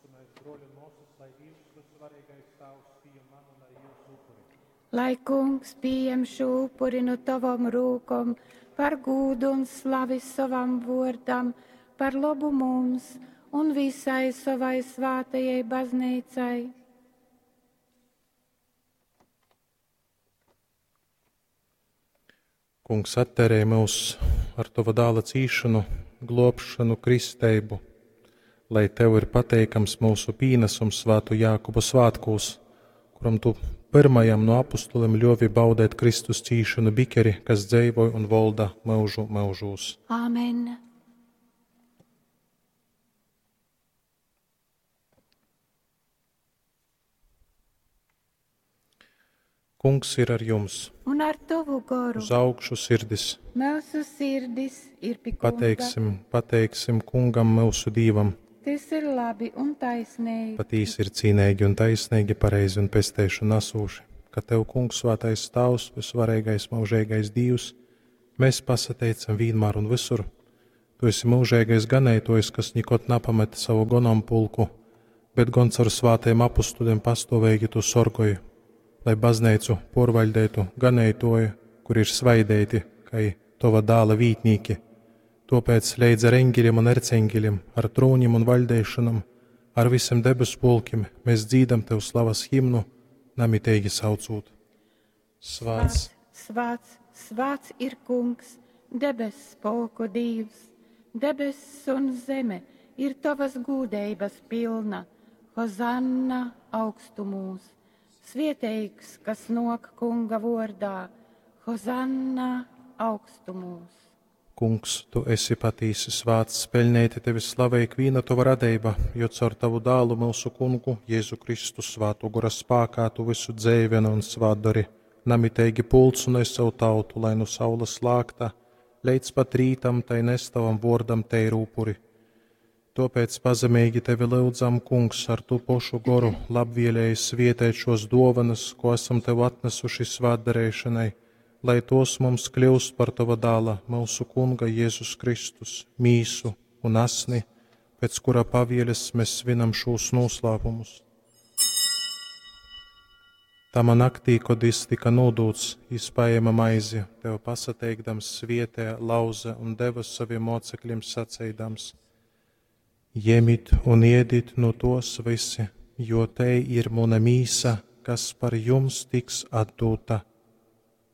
Lūgsimēs, bruoļi un muosys, lai Dīvs, Vysuvareigais Tāvs, pījam manu un arī jyusu upuri. Lai Kungs pījem šū upuri nu tovom rūkom par gūdu un slavi sovam vuordam, par lobu mums un visai sovai svātajai bazneicai. Kungs, attērē myus ar tova dāla cīšanu, globšanu, kristeibu, lai tev ir pateikams mūsu pīnesums svātu Jākuba svātkūs, kuram tu pyrmajam no apustulim ļovi baudēt Kristus cīšanu bikeri, kas dzeivoj un volda myužu myužūs. Āmen. Kungs ir ar jums. Un ar tovu goru Uz augšu sirdis. mūsu sirdis ir pi Kunga. Pateiksim, pateiksim kungam mūsu Dīvam. Tas ir labi un taisnīgi. Patīsi ir cīnīgi un taisnīgi, pareizi un pesteišanu nesūši, ka Tev, Kungs, svētais Tavs, visvareigais, mūžīgais Dievs, mēs pasateicam vienmēr un visur. Tu esi mūžīgais ganētojs, kas nikod napamet savu gonampulku, bet gan caur svātajiem apustuļiem pastāvīgi tu sorgoji, lai baznīcu porvaļdētu ganētoju, kur ir svaidēti, kai tova dāla vītnīki. Tāpēc leidz ar eņģeļiem un erceņģeļiem, ar trūņiem un vaļdēšanam, ar visiem debesu pulkiem mēs dzīdam tev slavas himnu, namiteigi saucūt. Svāts, Svāts, svāts ir kungs, debess pulku dīvs, debess un zeme ir tavas gūdeibas pilna. Hozanna augstumūs, svieteigs, kas nok kunga vordā, Hozanna augstumūs. Kungs, tu esi patīsi svāts, peļnēti tevi slavē ikviena tava radība, jo caur tavu dālu mūsu kungu Jēzu Kristu svātu gora spākā tu visu dzēvenu un svātdari, namiteigi pulc un es savu tautu, lai nu saules lākta, leidz pat rītam tai nestavam vordam teiru upuri. Tāpēc pazemīgi tevi lūdzam, kungs, ar tu pošu goru labvēlēji svietēt šos dovanas, ko esam tev atnesuši svātdarēšanai, lai tos mums kļūst par tava dāla, mūsu kunga Jēzus Kristus, mīsu un asni, pēc kura pavieles mēs svinam šos noslēpumus. Tamā naktī, kad jis tika nodūts, jis paēma maizi, tev pasateikdams svietē, lauze un deva saviem mocekļiem saceidams: Ņemit un ēdit no tos visi, jo te ir mana mīsa, kas par jums tiks atdota.